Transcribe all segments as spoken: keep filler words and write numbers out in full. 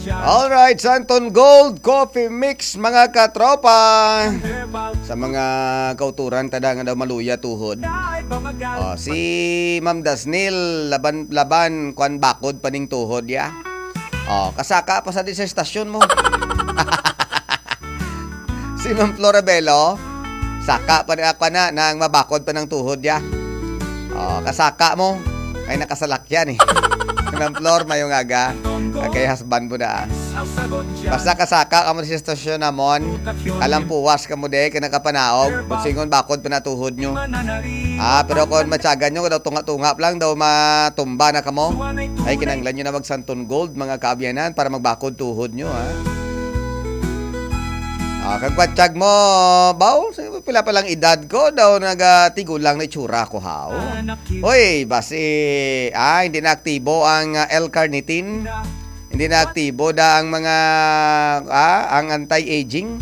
Alright, Santon Gold Coffee Mix, mga katropa. Sa mga kauturan, tada nga daw maluya tuhod. Oh, si Ma'am Dasnil, laban-laban, kwan, bakod pa ning tuhod, ya. Oh, kasaka pa sa di sa estasyon mo. Si Ma'am Florabelo, saka pa na, kwan na, nang mabakod pa ng tuhod, ya. Oh, kasaka mo. Ay, nakasalakyan eh. Ma'am Flor, mayong aga. Ah, kay husband mo na, ah. Basta kasaka ka mo sa estasyon namon, kalampuwas ka mo de, ka nakapanaog, kung singon bakod pa na tuhod nyo. Ah, pero kung matyagan nyo, daw tunga-tunga pa lang, daw matumba na kamo. Ay, kinanglan nyo na mag Santon Gold, mga kaabyanan, para magbakod tuhod nyo, ha? Ah, kag patyag mo, baw, sa pila pa lang edad ko, daw nagatigulang na itsura ko, haw. Hoy, basi, ah, hindi na aktibo ang, ah, L-carnitine. Hindi na aktibo da ang mga, ah, ang anti-aging.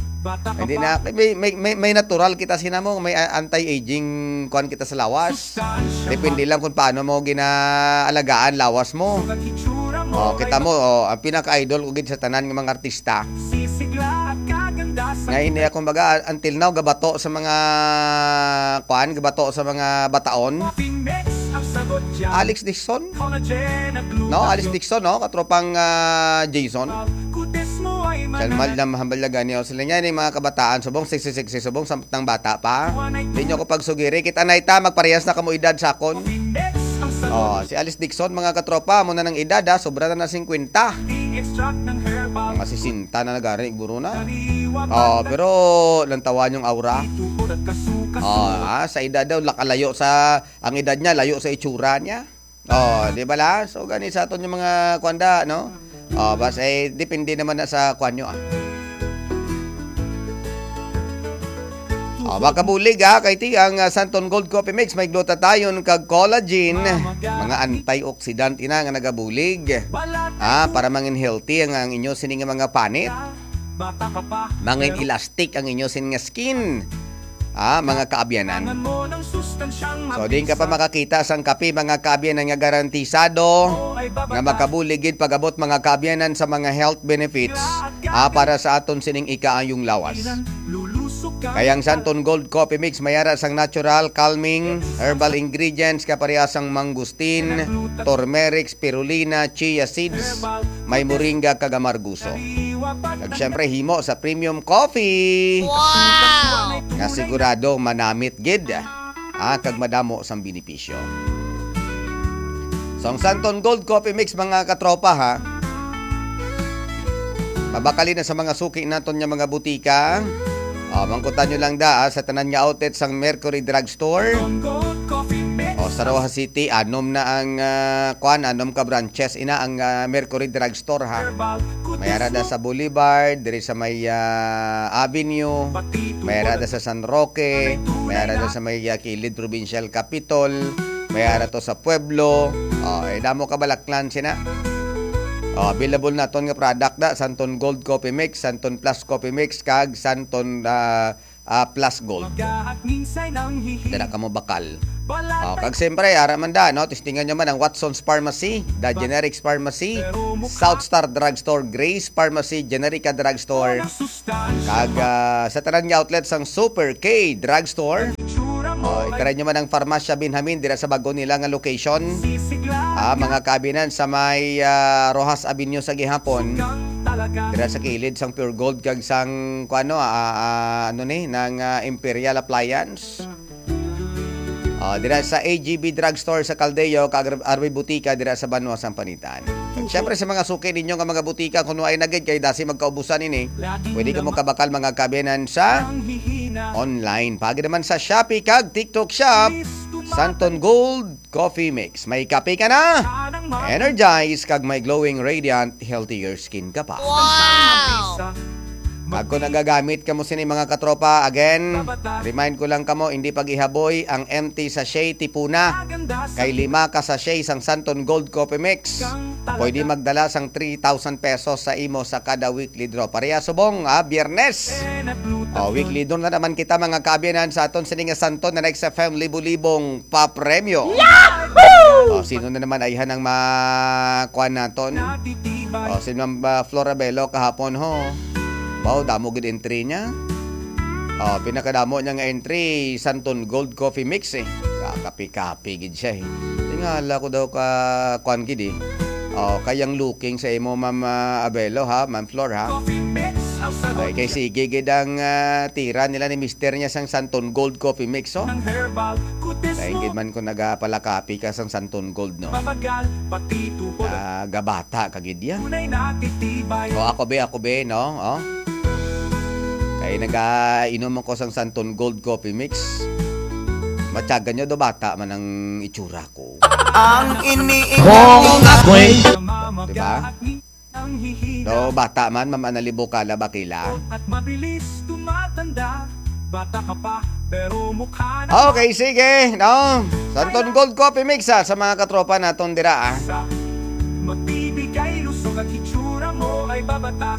Hindi na, may, may, may, may natural kita sinamo, may, ah, anti-aging kuan kita sa lawas. Depende lang kung paano mo ginaalagaan lawas mo. Oh, kita mo, oh, ang pinaka-idol ko gid sa tanan nga mga artista. Nga ini, kumbaga, until now, gabato sa mga, kuan, gabato sa mga bataon. Alex Dixon? No, Alex Dixon, no? Katropang, ah, Jason. Kalmal na mahambal na gani. O, sila niya, yung mga kabataan, subong sexy-sexy, subong samtang bata pa. Hindi nyo ko pagsugiri. Kita na ita, magparehas na kamo edad sa akon. Oh, si Alice Dixon, mga katropa, mo na ng edad, ha, sobra na na singkwenta. Mga sesenta na nagari, guro na. Oh, pero lantawan yung aura. Oh, ah, sa edad daw, lakalayo sa, ang edad niya, layo sa itsura niya. Oh, di ba la? So, gani sa aton yung mga kwanda, no? Oh, bas, eh, depende naman na sa kwan nyo, ah. Oh, makabulig, ah, kay ti ang, ah, Santon Gold Coffee Mix, may glutathione kag collagen, mga antioxidant ina nga nagabulig. Ah, para mangin healthy ang, ang inyo sini nga mga panit. Mangin elastic ang inyo sin nga skin. Ah, mga kaabyanan. So, din ka pa makakita sang kape, mga kaabyanan, nga garantisado nga makabulig gid pag-abot, mga kaabyanan, sa mga health benefits, ah, para sa aton sining ikaayong lawas. Kaya ang Santon Gold Coffee Mix may ara sang natural, calming, herbal ingredients, kaparehas sang mangustin, turmeric, spirulina, chia seeds, may moringa kag amarguso. Kag syempre, himo sa premium coffee. Wow! Nga sigurado manamit gid, ah, kag madamo sang benepisyo. So, ang Santon Gold Coffee Mix, mga katropa, ha, mabakali na sa mga suki naton nga mga butika. Oh, mangkutan nyo lang da, ah, sa tanan nga outlet sang Mercury Drugstore. O, sa Roxas City, anom na ang, ah, kwan, anom ka branches ina ang, ah, Mercury Drugstore, ha. May ara da sa Boulevard, diri sa may, ah, Avenue. May ara da sa San Roque. May ara da sa may, ah, kilid Provincial Capitol. May ara to sa Pueblo. Oh, eh, damo ka balaklan sina. Oh, available naton nga product da, Santon Gold Coffee Mix, Santon Plus Coffee Mix, kag Santon, ah, ah, Plus Gold. Dala ka mo bakal. Oh, kag siyempre, ara man da, no? Testingan nyo man ang Watson's Pharmacy, The Generics Pharmacy, South Star Drugstore, Grace Pharmacy, Generica Drugstore, kag, ah, sa tanan nga outlet sang Super K Drugstore. Oh, i-try nyo man ang Farmacia Benjamin dira sa bago nila nga location. Ah, mga kaabyanan sa may, ah, Roxas Avenue sa gihapon. Dira sa kilid sang Pure Gold kag sang, kuano, ah, ah, ano ni, nang, ah, Imperial Appliance. Ah, dira sa A G B Drugstore sa Caldeo, kag R B Butika dira sa Banwa, Sampanitan. Kag syempre sa mga suki ninyo nga mga butika, kung ay nagid kay dasi magkaubusan ini, pwede ka mo kabakal, mga kaabyanan, sa online. Pagi naman sa Shopee kag TikTok Shop, Santon Gold Coffee Mix. May kape ka na? Energize kag may glowing, radiant, healthier skin ka pa. Wow! Kag kung nagagamit kamo sini, mga katropa, again, remind ko lang kamo, hindi pag-ihaboy ang empty sachet, tipuna. Kay lima ka sachet sang Santon Gold Coffee Mix, pwede magdala sang three thousand pesos sa imo sa kada weekly draw. Pareha subong, ah, Biyernes. Oh, weekly draw na naman kita, mga kaabyanan, sa aton sini nga Santon na next F M libo-libong papremyo. Oh, sino na naman ayhan ang makuha naton? Oh, si Ma'am, ah, Florabelo kahapon, ho. Wow, damo gid entry niya. Oh, pinakadamo niya nga entry, Santon Gold Coffee Mix, eh. Kakapi-kapi gid siya, eh. Tingala ko daw ka, kwan gid, eh. Oh, kayang looking sa imo, Ma'am, ah, Abelo, ha, Ma'am Flor, ha? Ay, kay sige gid ang, ah, tira nila ni mister niya sang Santon Gold Coffee Mix, oh. Kay gid man ko nagapalakapi ka sang Santon Gold, no? Ah, gabata ka gid yan. O, ako be, ako be, no? Oh. Kay nagainom ako sang Santon Gold Coffee Mix. Matyagan nyo do, bata man ang itsura ko. Ang iniingon Kung ako'y Diba? Do, bata man, Ma'am Anali Bukala Bakila. At mabilis tumatanda. Bata ka pa, pero mukha na Okay, sige, no? Santon Gold Coffee Mix, ah, sa mga katropa naton dira, ah. Sa magbibigay lusog at itsura mo ay babata.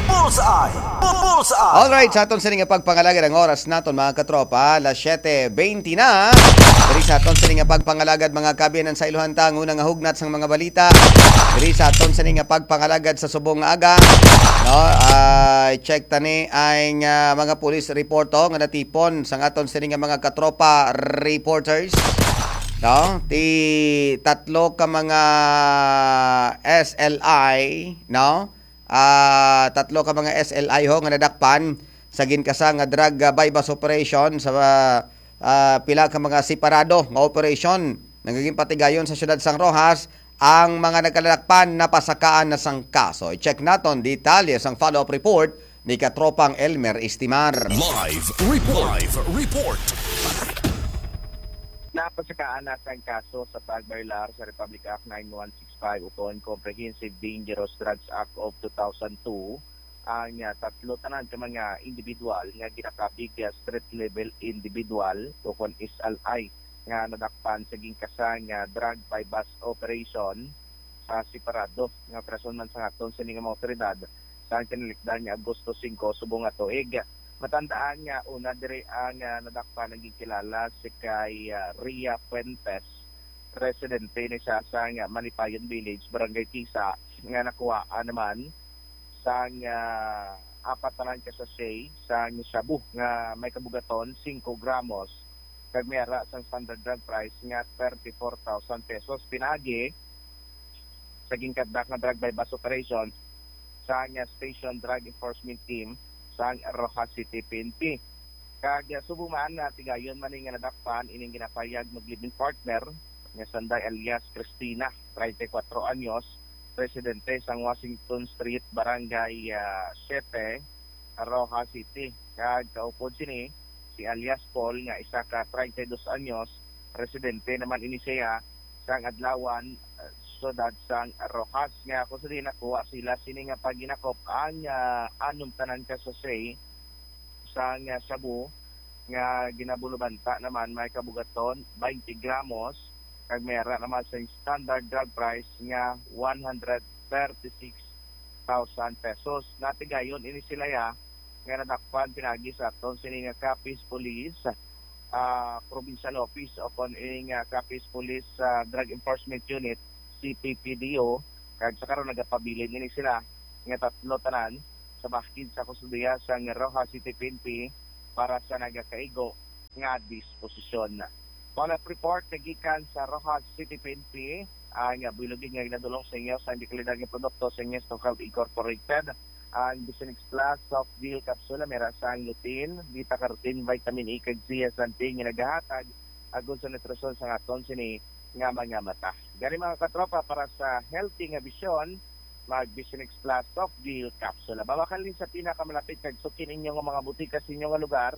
Bullseye! Bu-, Bullseye! Alright, sa aton sini nga pagpangalagad ang oras naton, mga katropa, alas siyete bente na. Diri sa aton sini nga pagpangalagad, mga kaabyanan, sa iluhan ta ang unang hugnat sang mga balita. Diri sa aton sini nga pagpangalagad sa subong nga aga, no? Ah, check tani ang, ah, mga police report, oh, nga natipon sang aton sini nga mga katropa reporters, no? Ti tatlo ka mga S L I, no? Ah, tatlo ka mga S L I ho nga nadakpan sa ginkasa nga drug, ah, buy-bust operation sa, ah, ah, pila ka mga separado nga operation nga ginpatigayon sa siyudad sang Roxas. Ang mga nagkadakpan napasakaan na sang kaso. I-check naton detalye sang follow-up report ni Katropang Elmer Estimar. Live report. Live report. Napasakaan na sang kaso sa pagbayolar sa Republic Act nine one six five ukon Comprehensive Dangerous Drugs Act of two thousand two ang, ah, tatlo tanan ka mga individual nga ginakabig nga street level individual ukon S L I nga nadakpan sa ginkasa nga drug buy-bust operation sa separado nga operasyon man sang aton sini nga mga awtoridad sa kinalikdan nga Agosto singko subong nga tuig. Matandaan nga una diri ang, ah, nadakpan ang ginkilala si kay, ah, Ria Fuentes, residente ni siya sa, ah, Malipayon Village, Barangay Tisa, nga nakuhaan naman sang, ah, apat tanan ka sachet sang shabu nga may kabugaton singko gramos kag may ara sang standard drug price nga thirty-four thousand pesos. Pinaagi sa ginkatdak nga drug buy-bust operation sang Station Drug Enforcement Team sang Roxas City P N P. Kag, ah, subong man, natigayon man ni nga nadakpan ining ginapayag mag-live-in partner nga sanday alias Christina, treinta y cuatro anyos, residente sang Washington Street, Barangay, ah, siete, Roxas City. Kag kaupod sini, si alias Paul nga isa ka treinta y dos anyos, residente naman ini siya sang Adlawan, ah, siyudad sang Roxas, nga kung sa diin nakuha sila sini nga paghinakop ang, ah, anom tanan ka sachet sang, ah, shabu nga ginabulubanta naman may kabugaton twenty gramos kag may ara naman sa standard drug price nga one hundred thirty-six thousand pesos. Natigayon ini sila ya nga nadakpan pinagi sa aton sini nga Capiz Police, ah, Provincial Office o kon ini nga Capiz Police, ah, Drug Enforcement Unit, C P P D O, kag sa karon nagapabilin ini sila nga tatlo tanan sa bahin sa kustodiya sang Roxas City P N P para sa nagakaigo nga disposisyon. Follow-up report nga gikan sa Roxas City P N P, ang buhi lugid nga ginadul-ong sa inyo sang dekalidad nga produkto sa inyo Stock Health Incorporated, ang Vision X Plus Soft Gel Capsule, may ara sang lutein, beta carotene, vitamin E, kag zeaxanthin nga nagahatag agod sa nutrisyon sa aton sini nga mga mata. Gani, mga katropa, para sa healthy nga bisyon, mag Vision X Plus Soft Gel Capsule. Mabakan lang sa pinakamalapit kag suki ninyo nga mga butika sa inyo nga lugar,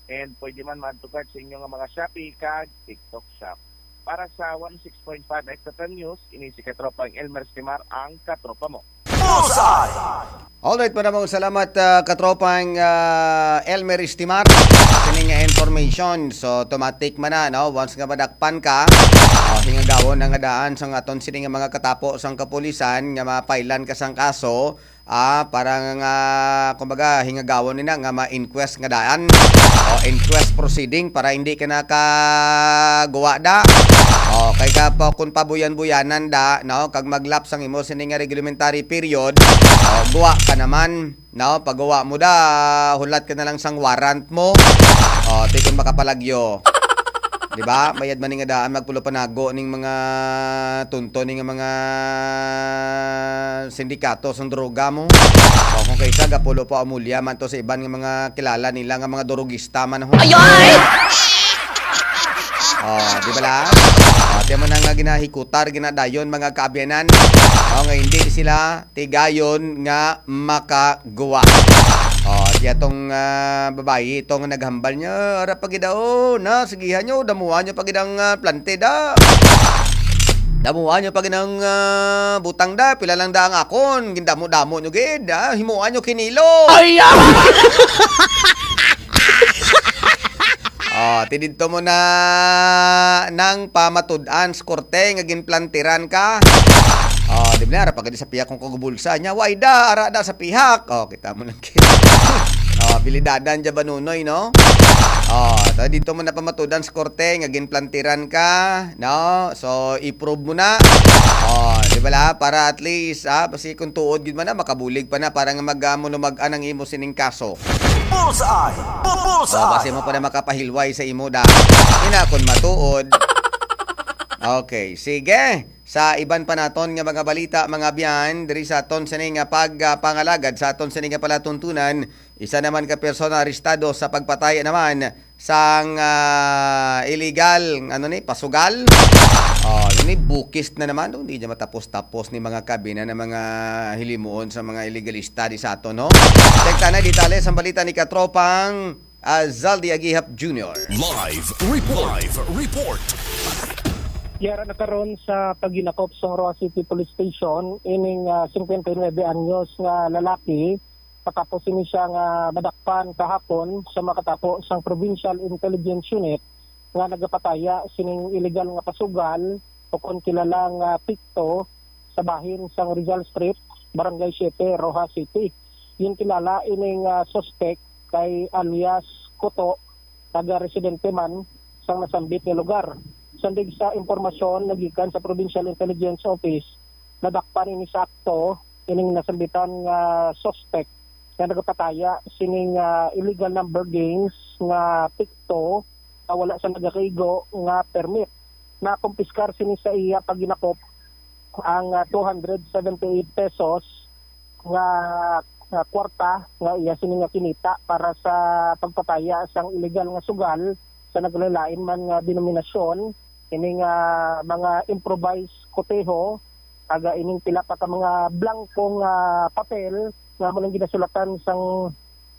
and pwede man maadto sa inyo nga mga Shopee kag TikTok Shop. Para sa one oh six point five X F M News, ini si Katropang Elmer Estimar, ang katropa mo. Bullseye! Alright, maraming salamat, ah, katropang, ah, Elmer Estimar. Kini nga information. So, automatic man na, no? Once nga madakpan ka, ah, hingagawon na nga daan sang aton sini nga mga katapo sang kapulisan nga mapailan ka sang kaso, ah, para nga, kumbaga, hingagawon nila nga ma-inquest nga daan o inquest proceeding para hindi ka nakaguwa da. O, Kay ka pa, kung pabuyan-buyanan da, no, kag maglapse ang imo sini nga reglementary period, o, guwa ka naman, no, pagguwa mo da, hulat ka na lang sang warrant mo. O, ti kung makapalagyo. Di ba? Mayad man ni nga daan magpulo panago ning mga tunto ni nga mga sindikato sang droga mo. O, kung kaysa gapulo pa amulya man to sa iban nga mga kilala nila nga mga durugista man ho. Ayoy! O, di ba la? O, tiyan mo na nga ginahikutar, ginadayon, mga kaabyanan. O, nga hindi sila tigayon nga makaguwa. O, tiya tong, ah, babayi, ito nga naghambal niya, ara pa gid daw, na, sigihan nyo, damuhan nyo pa gid ang, ah, plante da. Damuhan nyo pa gid ang, ah, butang da, pila lang da ang akon, gindamo-damo nyo gid, ah, himuan nyo kinilo. Ay, ah! O, ti didto mo na nang pamatud-an sa korte nga ginplantiran ka. O, di ba, ara pa gid sa pihak kung kagubulsa niya, way da, ara da sa pihak. O, kita mo lang gid. O, bilidadan dya ba, Nunoy, no? O, ta didto mo na pamatud-an sa korte nga ginplantiran ka, no? So, i-prove mo na. O, di ba la? Para at least, ah, basi kung tuod gid man na, makabulig pa na para nga mag-, ah, manumag-an ang imo sining kaso. Bullseye! Bu-, Bullseye! O, basi mo pa na makapahilway sa imo da. Ina, kung matuod. Okay, sige. Sa iban pa naton nga mga balita, mga abyan, diri sa aton sini nga pag, ah, pangalagad sa aton sini nga palatuntunan, isa naman ka persona arestado sa pagpatay naman sang, ah, illegal, ano ni, pasugal. O, ano ni, bukis na naman, no? Hindi niya matapos-tapos ni mga kabina na mga hilimuon sa mga illegalista di sa aton, no? Check ta na detalye sa balita ni Katropang, ah, Zaldi Agihap Junior. Live report. Live report. Yara na karon sa paghinakop sa Roxas City Police Station ining, ah, singkwenta y nuebe anyos nga lalaki, matapos ini siya nga madakpan kahapon sa makatapo sang Provincial Intelligence Unit nga nagapataya sining illegal nga pasugal, o kon kilala nga pikto, sa bahin sang Rizal Street, Barangay Siete, Roxas City. Ginkilala ining, ah, suspek kay alias Kuto, taga-residente man sang nasambit nga lugar. Sandig sa impormasyon nga gikan sa Provincial Intelligence Office, nadakpan ini sa akto ining nasambitan nga suspek nga nagapataya sining, ah, illegal number games nga pikto nga wala sa nagakaigo nga permit. Nakumpiskar sini sa iya paghinakop ang, ah, two hundred seventy-eight pesos nga, nga kwarta nga iya sini nga kinita para sa pagpataya sang illegal nga sugal sa naglain-lain man nga denominasyon. Ini nga mga improvised koteho, taga ining pila pa ka mga blanco nga papel nga amo nang ginasulatan sang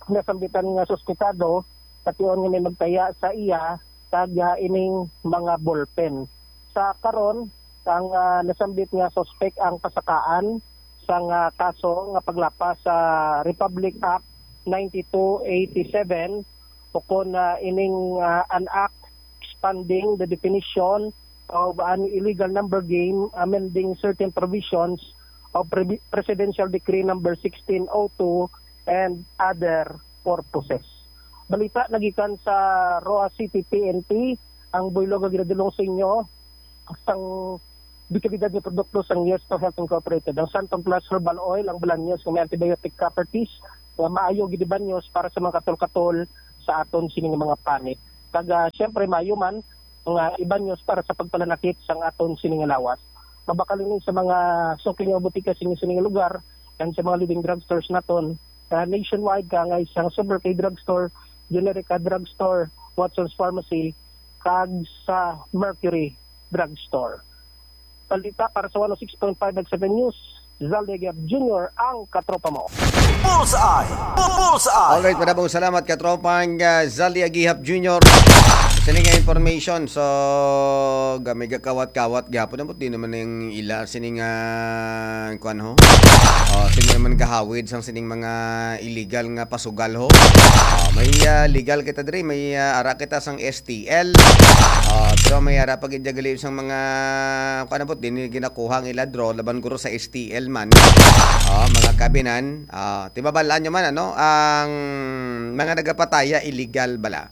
nasambitan nga suspetado, sa tion nga may magtaya sa iya kag, ah, ining mga ballpen. Sa karon, ang, ah, nasambit nga suspek ang pasakaan sang, ah, kaso nga paglapas sa Republic Act ninety-two eighty-seven, ukon, ah, ining, ah, an act expanding the definition of an illegal number game, amending certain provisions of Pre-, Presidential Decree Number sixteen oh two and other purposes. Balita nagikan sa Roxas City P N P, ang buylog nga ginadulong sa inyo sang dekalidad nga produkto sang Yesto Health Incorporated, ang Santon Plus Herbal Oil, ang Balanyos nga may antibiotic properties nga maayo gid ibanyos para sa mga katol-katol sa aton sini nga mga panit. Kag, ah, siyempre, maayo man nga ibanyos para sa pagpalanakit sang aton sini nga lawas. Mabakal ini sa mga suki nga botika sa inyo sini nga lugar and sa mga leading drugstores naton, ah, nationwide, kaangay sang Super K Drugstore, Generica Drugstore, Watson's Pharmacy, kag sa Mercury Drugstore. Balita para sa one oh six point five X F M News, Zalde Gab Junior, ang katropa mo. Bullseye! Bu-, Bullseye! Alright, madamong salamat, katropang, ah, Zaldi Agihap Junior. Sini nga information, so, gamay gakawat-kawat gyapon, ambot di naman yung ila, sini nga, kuan ho? Oh, sini naman gahawid sang sining mga illegal nga pasugal ho. Oh, may, ah, legal kita diri, may, ah, ara kita sang S T L. Oh, pero may ara pa gid gali sang mga, kuan, ambot di ni ginakuha ang ila draw laban guro sa S T L man. Oh, mga kabinan, ah, timabalaan nyo man, ano, ang mga nagapataya illegal bala.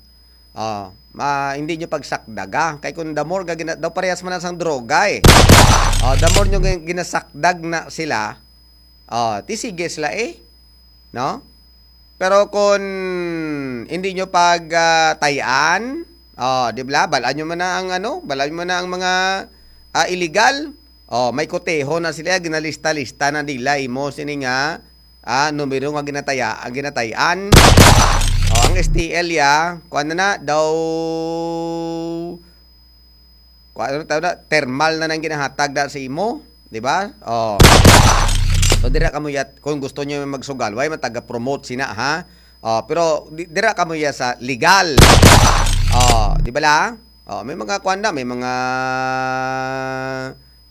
Oh, ma, hindi nyo pagsakdaga. Kay kung the more ga gina-, daw parehas man na sang droga eh. Oh, the more nyo gin-, ginasakdag na sila, oh, ti sige sila eh. No? Pero kung hindi nyo pag, ah, tayan, oh, di ba? Balaan nyo man na ang ano, balaan nyo man na ang mga, ah, illegal. Oh, may koteho na sila, ginalista-lista na nila imo sini nga, ah, numero nga ginataya-, ang ginatayan. Oh, ang S T L ya, kuan na na daw, kuan na tawag na, thermal na nang ginahatag da sa imo, di ba? Oh. So dira kamo ya, kung gusto niyo magsugal, way man taga-promote sina, ha? Oh, pero di, dira kamo ya sa legal. Oh, di ba la? Oh, may mga kuan na, may mga,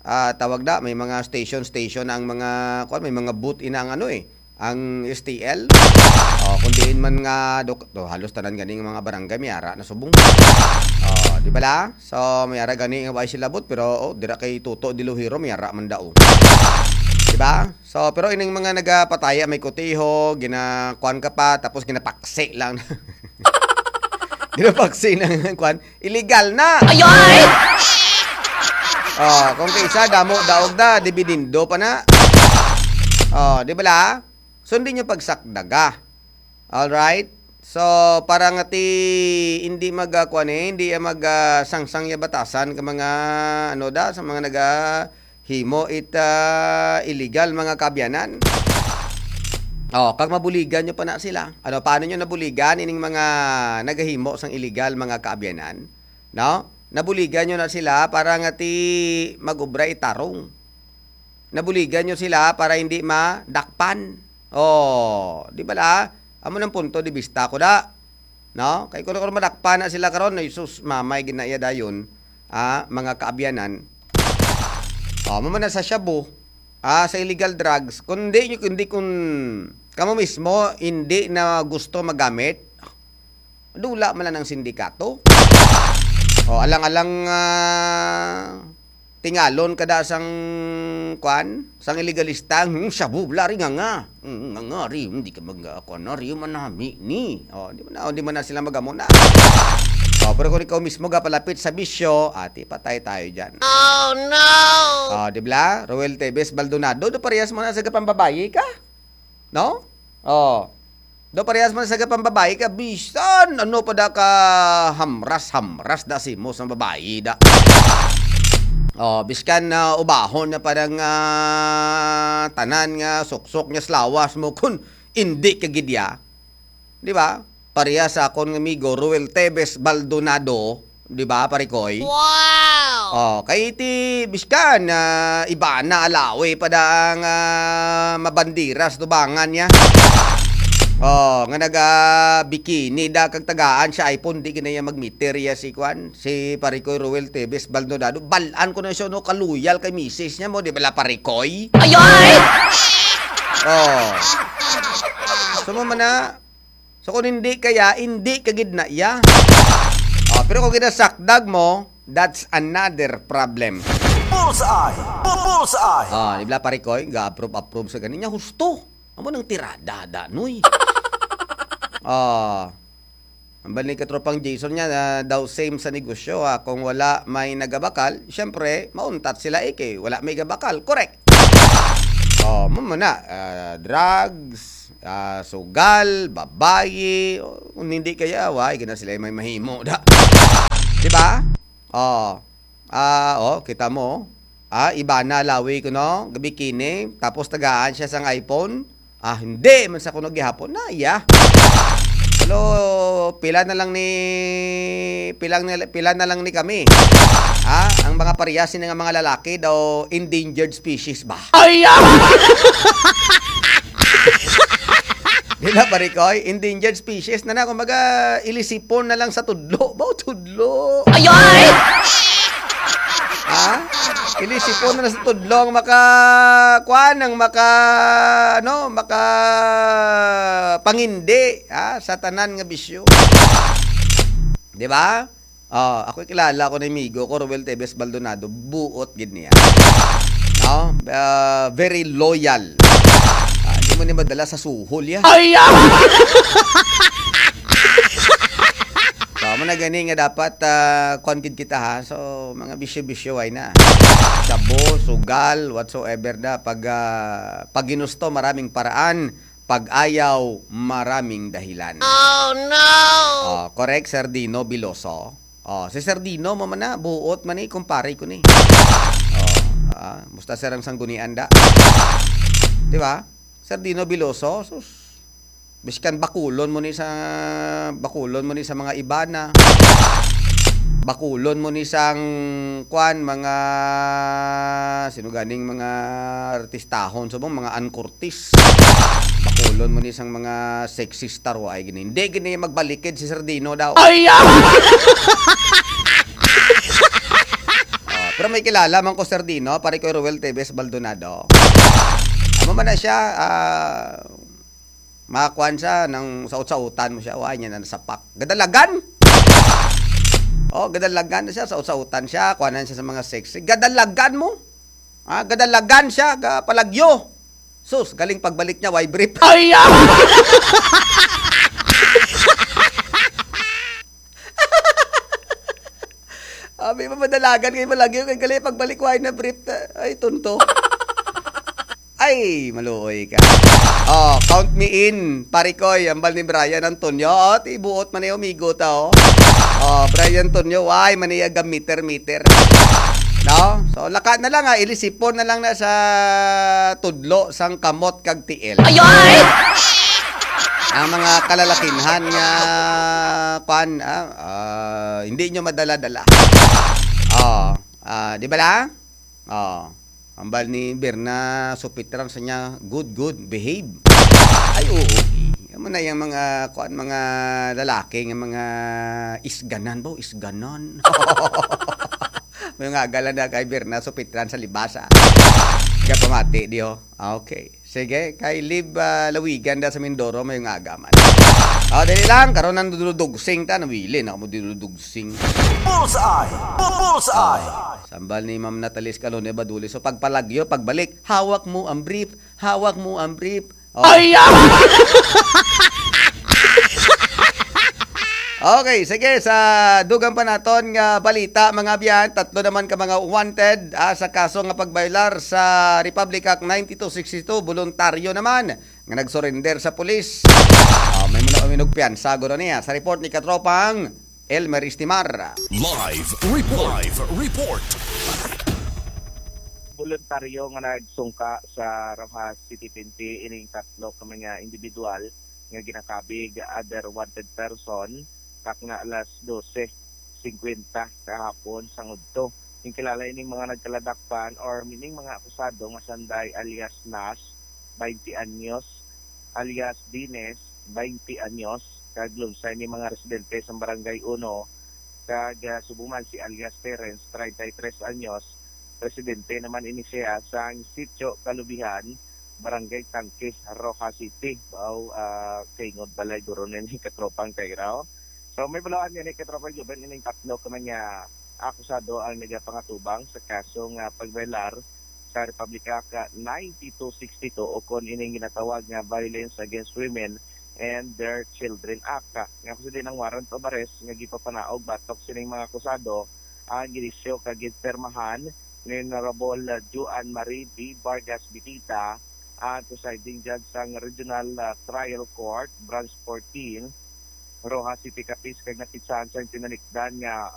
ah, tawag na, may mga station, station na ang mga kuan, may mga booth ina ang ano eh, ang S T L. Oh, kung diin man nga dok-, to, halos tanan ganing mga barangay may ara na subong. Oh, di ba la? So may ara gani nga way sila booth, pero oh, dira kay Toto Diluhiro may ara man daw. Di ba? So pero ining mga nagapataya may koteho, ginakuan ka pa, tapos ginapaksi lang. Ginapaksi ng kuan, illegal na. Ayoy! Oh, kung kaysa damo daog na, dibidindo pa na. Oh, di ba la? So hindi nyo pagsakdaga. All right? So para nga ti hindi mag ah, kuan eh, hindi mag ah, sangsang ya batasan ka mga ano da sa mga naga himo it ah, illegal mga kaabyanan. Oh, kag mabuligan nyo pa na sila. Ano, paano nyo nabuligan ining mga nagahimo sang illegal mga kaabyanan? No? Nabuligan nyo na sila para nga ti mag-ubra itarong. Nabuligan nyo sila para hindi madakpan. Oh, di ba la? Amo nang punto di bista ko da. No? Kay kung ako madakpan na sila karon, ay sus, mamay ginaiya dayon, ah, mga kaabyanan. Oh, amo man na sa shabu, ah, sa illegal drugs, kung di nyo, kung di kung kamo mismo hindi na gusto magamit, dula man lang ang sindikato. Oh, alang-alang ah, tingalon ka da sang kuan, sang illegalista, hmm, shabu, bla ri nga nga. Hmm, nga nga ri, hindi ka mag ah, kuan na ri manami ni. Oh, di man na, di man na sila magamo na. Oh, pero kung ikaw mismo gapalapit sa bisyo, ati patay tayo diyan. Oh no! Oh, di bla? Roel Tevez Baldonado, do parehas mo na sa gapambabayi ka? No? Oh. Do parehas man sa gapambabayi ka, bisan ano pa da ka hamras-hamras da si mo sa babayi da. Oh, biskan na ubahon na parang ah, tanan nga suksok niya sa lawas mo kun hindi ka gid ya. Di ba? Pareha sa akon nga amigo Roel Tevez Baldonado, di ba, Parikoy? Wow! Oh, kay ti biskan ah, iba na alawi pa da ang ah, mabandiras tubangan niya. Oh, nga naga bikini da kag tagaan siya iPhone, di ginaya magmeter ya si kwan, si Parikoy Roel Tevez Baldonado. Balan ko na siya no, kaluyal kay misis niya mo, di ba la Parikoy? Ayoy! Oh. So mo man na, so kung hindi kaya, hindi ka gid na iya. Oh, pero kung ginasakdag mo, that's another problem. Bullseye! Bu- Bullseye! Ah, di ba Parikoy, ga-approve-approve sa ganin niya, husto. Amo nang tirada, da, noy. Ah, ang balik katropang Jason niya, na daw same sa negosyo, ha. Kung wala may nagabakal, syempre, mauntat sila, eh, kay wala may gabakal. Correct. Oh, mo na, ah, drugs, ah, sugal, babayi, oh, kung hindi kaya, why gina sila may mahimo da. Di ba? Oh. Ah, oh, kita mo. Ah, iba na lawi ko no, bikini, tapos tagaan siya sang iPhone. Ah, hindi man sa kuno gihapon na iya. Pero pila na lang ni pila na, pila na lang ni kami. Ah, ang mga parehas ni nga mga lalaki daw endangered species ba? Ay, ah! Di na, Parikoy? Endangered species na na. Kumbaga, ilisipon na lang sa tudlo. Ba, tudlo? Ayoy! Ha? Ilisipon na lang sa tudlo ang maka, kuan, ang maka, ano, maka pangindi, ha, sa tanan nga bisyo. Di ba? Ah, ako kilala ko ni amigo ko, Roel Tevez Baldonado, buot gid niya. No? Ah, very loyal. Ah, di mo ni madala sa suhol ya. Ay, ah! So, amo Na gani nga dapat, ah, kuwan gid kita, ha. So, mga bisyo-bisyo, ay na. Shabu, sugal, whatsoever na. Pag, ah, pag ginusto, maraming paraan. Pag ayaw, maraming dahilan. Oh, no! Oh, correct, Sir Dino Biloso. Oh, si Sir Dino mo man na, buot man ni, kumpare ko ni. Oh, ah, musta, sir, ang sanggunian da? Di ba? Sir Dino Biloso, sus. Biskan bakulon mo ni sa, bakulon mo ni sa mga Ibana. Bakulon mo ni sang, kwan, mga, sino ganing mga artistahon, subong mga Ann Curtis. Bakulon mo ni sang mga sexy star, wa ay gini. Hindi gini magbalikid si Sir Dino daw. Ay, ah! Oh, pero may kilala man ko, Sir Dino, pare ko, Ruel Tevez Baldonado. Amo man na siya, ah, makuan siya, nang saut-sautan mo siya, wa niya na nasapak. Gadalagan! Oh, gadalagan na siya, saut-sautan siya, kuanan siya sa mga sexy. Gadalagan mo! Ah, gadalagan siya, ga palagyo. Sus, galing pagbalik niya, why brief? Ay, ah! Abi mo, madalagan kay malagyo, kay gali pagbalik, why na brief ta? Ay, tunto. Ay, maluoy ka. Oh, count me in, pare koy, ambal ni Brian Antonio. Oh, ti buot man ni amigo ta, oh. Oh, Brian Antonio, why man niya ga meter, meter? No? So, laka na lang, ha, ilisipon na lang na sa tudlo sang kamot kag tiil. Ay, ay! Ang mga kalalakinhan nga, kwan, ah, ah, hindi nyo madala-dala. Oh, ah, di ba la? Oh, ambal ni Berna Supitran sa niya, "Good, good, behave." Ay, oo, eh. Amo na yung mga, kuan, mga lalaki nga mga isganan ba? Isganan. May nga agala na kay Berna Supitran sa libasa. Kapamati, di ho? Ah, okay. Sige, kay Lib, ah, Lawigan da sa Mindoro, may nga agaman. Oh, dali lang, karon ang duludugsing ta, nawili na mo duludugsing. Bullseye! Bullseye! Sambal ni Ma'am Natalie Escalone Baduli. So, pagpalagyo, pagbalik, hawak mo ang brief, hawak mo ang brief. Oh. Ay, ah! Okay, sige, sa dugang pa naton nga balita, mga abyan, tatlo naman ka mga wanted, ah, sa kaso nga pagbaylar sa Republic Act ninety-two sixty-two, voluntaryo naman nga nagsurrender sa pulis. Ah, may muna uminog piyansa, guro niya. Sa report ni Katropang Elmer Istimar. Live report. Live report. Voluntaryo nga nagsungka sa Roxas City P N P ining tatlo ka mga individual nga ginakabig other wanted person, kak nga alas dose cincuenta kahapon sang udto. Ginkilala ining mga nagkaladakpan or ining mga akusado nga Sanday alias Nas, twenty anyos, alias Dines, twenty anyos, kag Lunsay ni mga residente sa Barangay Uno, kag, ah, subong man si alias Terence, treinta y tres anyos, residente naman ini siya sa Sitio Kalubihan, Barangay Tangke, Roxas City. Wow, ah, kaingod balay guro ni katropang Kairaw. So, may balawan nga ni katropang Juben, ining tatlo ka mga akusado ang nagapangatubang sa kaso nga pagbaylar sa Republic Act ninety-two sixty-two o kon ining ginatawag nga Violence Against Women and Their Children Act. Nga kung din ang warrant of arrest nga gipapanaog batok sining mga akusado ang ginisyo kag ginpirmahan ni Honorable, uh, Joan Marie B. Vargas Bitita, ang presiding judge sang Regional, uh, Trial Court, Branch fourteen, Roxas City, Capiz, kag napitsahan sang tinalikdan nga, uh,